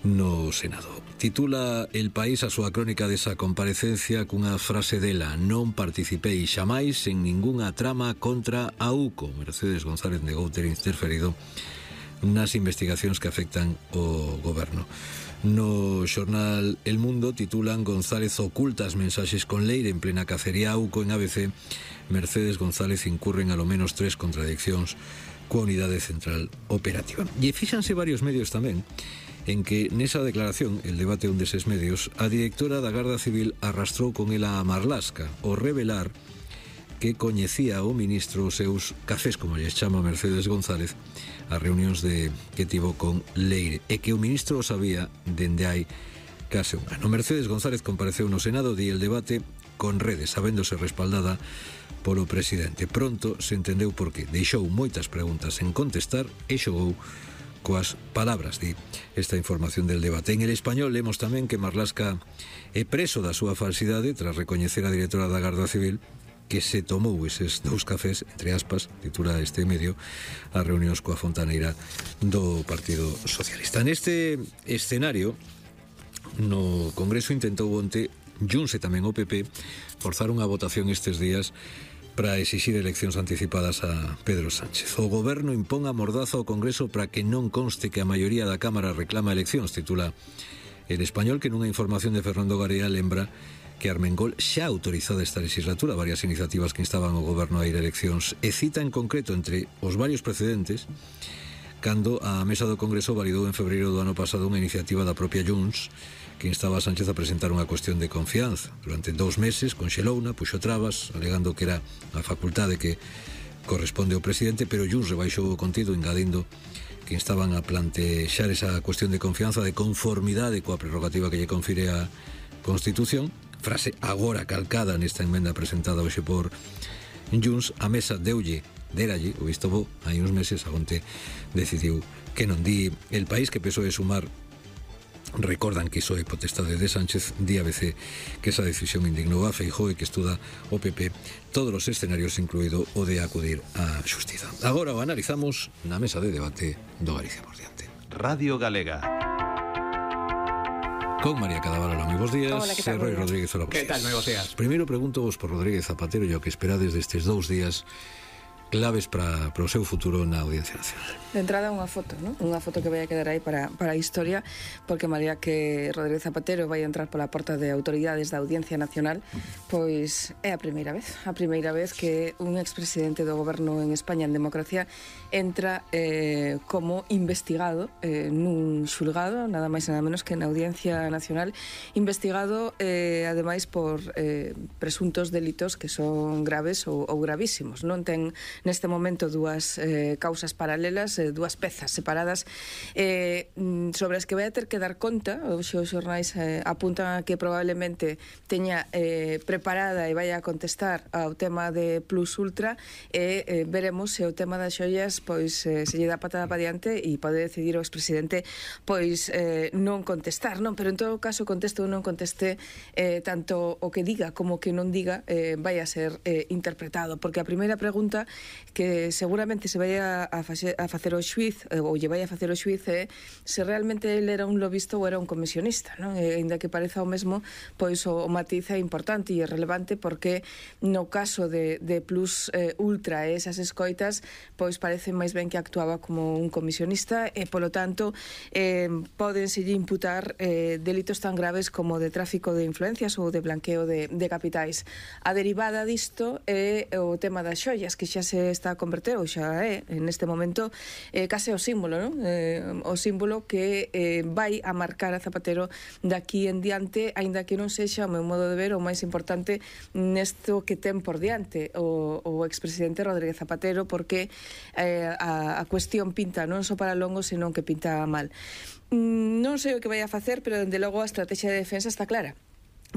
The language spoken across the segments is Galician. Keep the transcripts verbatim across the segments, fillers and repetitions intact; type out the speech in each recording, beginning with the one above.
no Senado. Titula El País a súa crónica desa comparecencia cunha frase dela: non participei xamais en ningunha trama contra a UCO. Mercedes González negou ter interferido nas investigacións que afectan o goberno. No xornal El Mundo titulan: González oculta as mensaxes con Leire en plena cacería. UCO. En A B C, Mercedes González incurren a lo menos tres contradiccións coa unidade central operativa. E fíxanse varios medios tamén en que nesa declaración, el debate un deses medios, a directora da Garda Civil arrastrou con ela a Marlaska ao revelar que coñecía o ministro os seus cafés, como lles chama Mercedes González, as reunións de que tivo con Leire, e que o ministro o sabía dende hai case un ano. Mercedes González compareceu no Senado di el debate con redes, sabéndose respaldada polo presidente. Pronto se entendeu por qué. Deixou moitas preguntas en contestar e xogou coas palabras, di esta información del debate. En El Español lemos tamén que Marlaska é preso da súa falsidade tras recoñecer a directora da Garda Civil que se tomou eses dous cafés, entre aspas, titula este medio, as reunións coa fontaneira do Partido Socialista. Neste escenario, no Congreso intentou onte Junts e tamén o P P forzar unha votación estes días para exixir eleccións anticipadas a Pedro Sánchez. O goberno impón a mordaza ao Congreso para que non conste que a maioría da Cámara reclama eleccións, titula El Español, que nunha información de Fernando Garea lembra que Armengol xa autorizada esta legislatura varias iniciativas que instaban ao goberno a ir a eleccións, e cita en concreto entre os varios precedentes cando a mesa do Congreso validou en febreiro do ano pasado unha iniciativa da propia Junts que instaba a Sánchez a presentar unha cuestión de confianza. Durante dous meses conxelouna, puxo trabas, alegando que era a facultade que corresponde ao presidente, pero Junts rebaixou o contido, engadindo que instaban a plantexar esa cuestión de confianza de conformidade coa prerrogativa que lle confire a Constitución, frase agora calcada nesta emenda presentada hoxe por Junts. A mesa deulle, deralle, o visto bo, hai uns meses, a onte decidiu que non. Di El País que P S O E sumar recordan que iso é potestade de Sánchez. Di A B C que esa decisión indignou a Feijóo e que estuda o P P todos os escenarios, incluído o de acudir á xustiza. Agora o analizamos na mesa de debate do Galicia por diante. Radio Galega. Con María Cadaval, moi bons días. Hola, que tal? Roy Rodríguez, hola, bons Que tal, moi bons días. Primeiro pregunto vos por Rodríguez Zapatero e o que esperades destes dous días claves para, para o seu futuro na Audiencia Nacional. De entrada unha foto, ¿no? Unha foto que vai a quedar aí para, para a historia, porque María que Rodríguez Zapatero vai a entrar pola porta de autoridades da Audiencia Nacional, pois é a primeira vez, a primeira vez que un expresidente do goberno en España en democracia entra eh, como investigado eh, nun xulgado, nada máis e nada menos que na Audiencia Nacional, investigado eh, ademais por eh, presuntos delitos que son graves ou, ou gravísimos. Non ten neste momento dúas eh, causas paralelas, eh, dúas pezas separadas eh, sobre as que vai a ter que dar conta. Os xornais eh, apuntan a que probablemente teña eh, preparada e vai a contestar ao tema de Plus Ultra, e eh, veremos se o tema das xoias pois eh, se lle dá patada para diante e pode decidir o expresidente pois eh, non contestar, non? Pero en todo caso conteste ou non conteste, eh, tanto o que diga como o que non diga eh, vai a ser eh, interpretado, porque a primeira pregunta que seguramente se vai a, a, facer, a facer o xuiz, ou lle vai a facer o xuiz, é se realmente ele era un lobista ou era un comisionista, non? E, ainda que pareza o mesmo, pois o, o matiz é importante e é relevante, porque no caso de, de Plus eh, Ultra e esas escoitas, pois parece máis ben que actuaba como un comisionista e, polo tanto, eh, podenselle imputar eh, delitos tan graves como de tráfico de influencias ou de blanqueo de, de capitais. A derivada disto é o tema das xoias, que xa se está a converter, ou xa é, neste momento, eh, case o símbolo, non? Eh, o símbolo que eh, vai a marcar a Zapatero daqui en diante, aínda que non sexa, o meu modo de ver, o máis importante nesto que ten por diante o, o expresidente Rodríguez Zapatero, porque eh, a, a cuestión pinta non só para longo, senón que pinta mal. Non sei o que vai a facer, pero dende logo a estrategia de defensa está clara.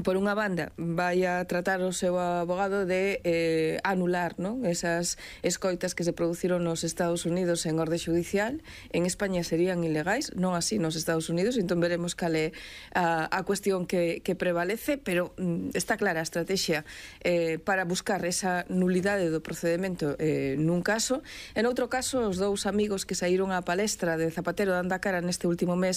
por unha banda, vai a tratar o seu abogado de eh, anular, non? Esas escoitas que se produciron nos Estados Unidos en orde judicial. En España serían ilegais, non así nos Estados Unidos, entón veremos cal é a, a cuestión que, que prevalece, pero mm, está clara a estrategia eh, para buscar esa nulidade do procedimento eh, nun caso. En outro caso, os dous amigos que saíron á palestra de Zapatero dando a cara neste último mes